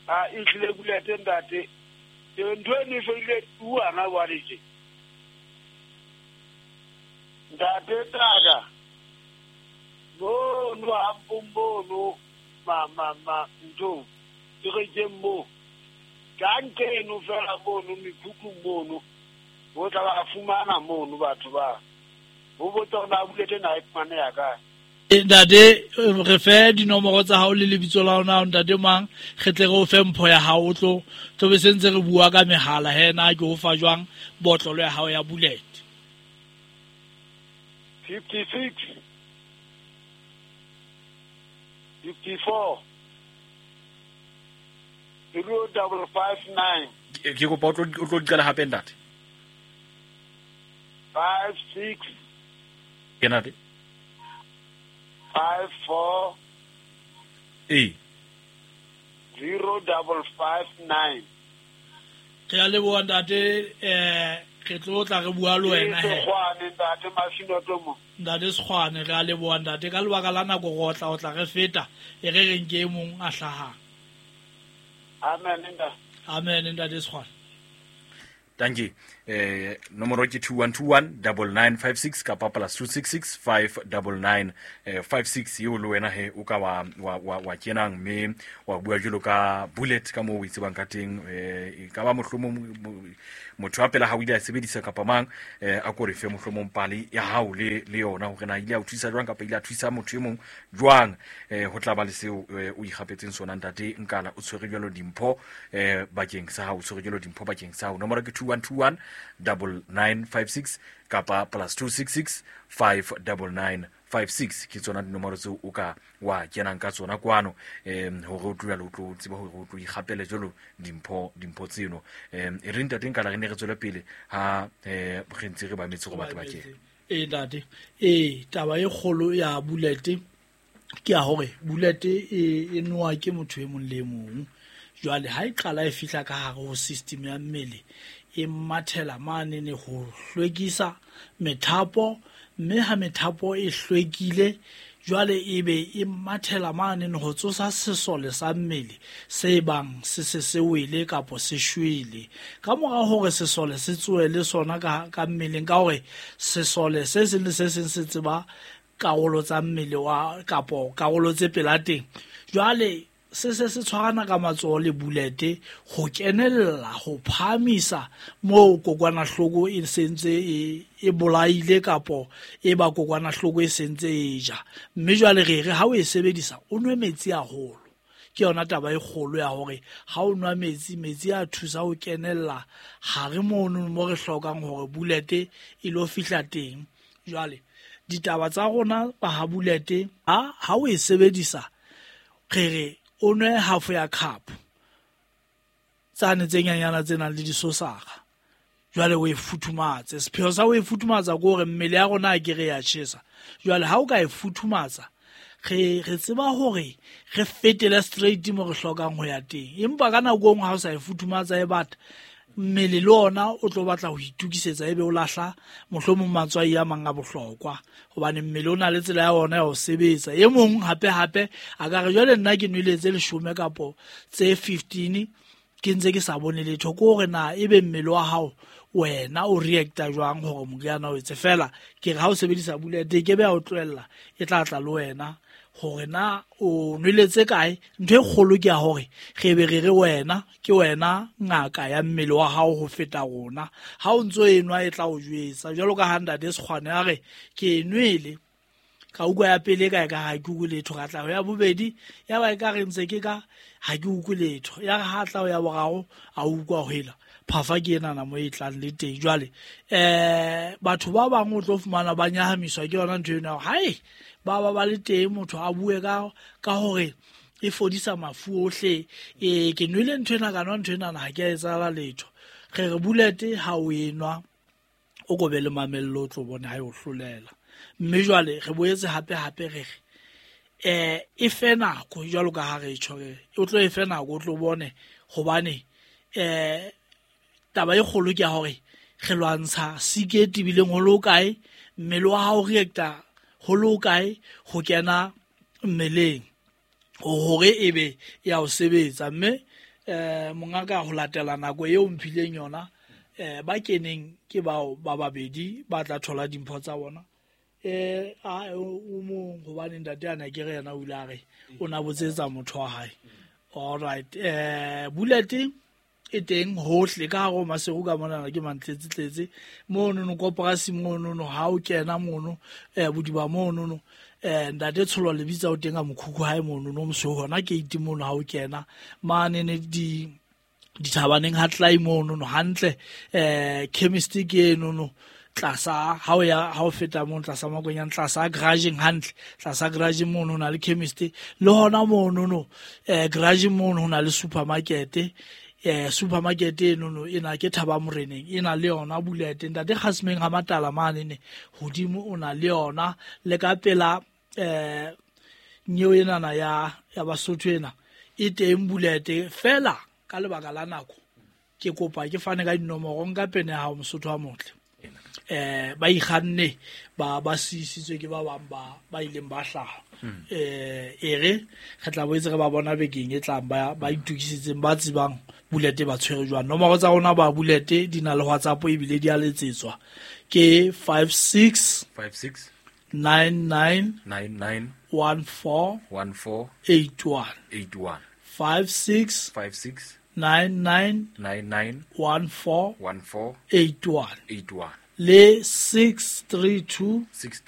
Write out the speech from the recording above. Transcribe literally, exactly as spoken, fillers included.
A e tlile bulete ntate. Ntho e ne fedile tuana jwale tje. Ntate taka. Mono a mpono ma ma ma ntho. Ke re ke mo. Ka nkeno fela mono mekhukhu mono. Bo tla ba fumana mono batho ba. Bo botsa hore na bulete na e fumane ya kae. Ntate re fe dinomoro tsa hao le lebitso la hona ntate mang re tle re o fe mpho ya hao o tlo tlo be sentse re bua ka mehala he na ke o fa jwang botlolo ya hao ya bullet. fifty-six fifty-four zero double five nine. Ke kopa o tlo o tlo qala hape ntate. five six Ke ntate. five four E zero double five nine. Re a leboha ntate, eh re tlo tla re bua le wena he. Sekgwane ntate Masinoto mo. Ntate Sekgwane re a leboha ntate ka lebaka la nako go tla o tla re feta e re reng ke e mong a hlahang. Amen ntate. Amen ntate Sekgwane. Thank you. Eh nomoro ke two one two one double nine five six kapa plus two six six five double nine five six eo le wena he o ka wa wa wa, wa kenang mme wa bua jwalo ka bullet ka moo o itsebang ka teng eh ka ba mohlomong motho wa pela ha o ile a sebedisa kapa mang eh a ko re fe mohlomong pale ya hao le le yona hore na ile a o thusa jwang kapa ile a thusa motho e mong jwang eh ho tla ba le seo o ikgapetseng sona ntate Nkala o tshwere jwalo dimpho eh bakeng sa hao o tshwere jwalo dimpho bakeng sa hao nomoro ke two one two one double nine five six kapa plus two six six five double nine five six ke tsona dinomoro tseo o ka wa kenang ka tsona kwano em hore o tlo o tlo tseba hore o tlo ikgapele jwalo dimpho dimpho tseno em e re ntate Nkala re ne re tswele pele ha eh re ntse re ba metse go batho ba kene. E ntate e taba e kgolo ya bullet ke ya hore bullet e e nowa ke motho e mong le mong. Jwale ha e qala e fihla ka hare ho system ya mmele e mathela mane ne ho hlwekisa methapo mme ha methapo e hlwekile jwale e be e mathela mane ne ho tsosa sesole sa mmele se bang se se se wele kapo se shwele. Ka mora hore sesole se tsoe le sona ka ka mmeleng ka hore sesole se seng le se seng se tseba karolo tsa mmele wa kapo karolo tse pela teng. Jwale se se se tshwarana ka matsoho le bulete ho kenella ho phahamisa moo kokwanahloko e sentse e e bolaile kapo e ba kokwanahloko e sentse e ja. Mme jwale re re ha o e sebedisa o nwe metsi haholo. Ke yona taba e kgolo ya hore ha o nwa metsi metsi a thusa ho kenella hare mono mo re hlokang hore bulete e lo fihla teng. Jwale ditaba tsa rona ba ha bulete ha ha o e sebedisa re re o nwe half ya cup tsane tse nyanyana tse nang le disosara jwale o e futhumatse. Sepheo sa o e futhumatsa ke hore mmele ya rona a ke re ya tjhesa. Jwale ha o ka e futhumatsa re re tseba hore re fetele straight mo re hlokang ho ya teng. Empa ka nako e nngwe ha o sa e futhumatsa e bata mmele le ona o tlo batla ho itukisetsa ebe o lahla mohlomong matswai a mang a bohlokwa hobane mmele o na le tsela ya ona ya ho sebetsa. E mong hape hape a ka re jwale nna ke nwele tse leshome kapo tse fifteen ke ntse ke sa bone letho ke hore na ebe mmele wa hao wena o reacta jwang hore moriana o etse. Fela ke re ha o sebedisa bullet e ke be ya o tlohella e tla tla le wena hore na o nweletse kae. Ntho e kgolo ke ya hore re be re re wena ke wena ngaka ya mmele wa hao ho feta rona. Ha o ntso e nwa e tla o jwetsa jwalo ka ha ntate Sekgwane a re ke e nwele ka utlwa ya pele ka ka ha ke utlwe letho ka tla ho ya bobedi ya ba e ka re ntse ke ka ha ke utlwe letho ya re ha tla ho ya boraro a utlwa ho hela phafa ke enana mo e tlang le teng. Jwale eh batho ba bang o tlo fumana ba nyahamiswa ke yona ntho eno hae ba ba ba le teng motho a bue ka ka hore e fodisa mafu ohle e ke nwele ntho ena ka nwa ntho ena ha ke a etsahala letho. Re re bullet ha o enwa o kobe le mamello o tlo bona ha e o hlolela. Mme jwale re boetse hape hape re re eh e fe nako jwalo ka ha re tjho re o tlo e fe nako o tlo bone hobane eh taba e kgolo ke ya hore re lwantsha sike e tebileng ho le kae mmele wa hao reacta ho le kae ho kena mmeleng hore ebe ya o sebetsa. Mme Eh mongaka ho latela nako eo mphileng yona eh ba keneng ke bao ba babedi ba tla thola dimpho tsa bona. Eh a o mong hobane ntate ana ke re yena o ile a re o na botsetsa motho wa hae. All right, eh bullet e teng hohle ka hare ho Maseru ka monana ke mantletse tletse mono no koporasi mono no ha o kena mono eh bodiba mono no eh ntate Tsholo lebitsa o teng a mokhukhu hae mono no mosweu hona gate mono ha o kena mane ne di dithabaneng ha tlai mono no hantle eh chemist ke eno no tlasa ha o ya ha o feta mono tlasa makonyana tlasa garageng hantle tlasa garage mono ho na le chemist le hona mono no eh garage mono ho na le supermarket eh supermarket eno no ena ke Thaba Moreneng e na le yona bullet ntate Kgasmeng ha Matala mane ne hodimo o na le yona le ka pela eh nyeo enana ya ya Basotho ena e teng bullet fela ka lebaka la nako ke kopa ke fane ka dinomoro nka pene ya hao Mosotho wa motle eh ba ikganne ba ba sisitswe ke ba bang ba ba ileng ba hlaha eh ere re tla boetse re ba bona bekeng e tlang ba ba itukisitseng ba tsebang bullet ba tshwere jwang. Nomoro tsa rona ba bullet di na le WhatsApp ebile di a letsetswa ke five six five six nine nine nine nine one four one four eight one eight one five six five six nine nine nine nine one four one four eight one eight one le six three two six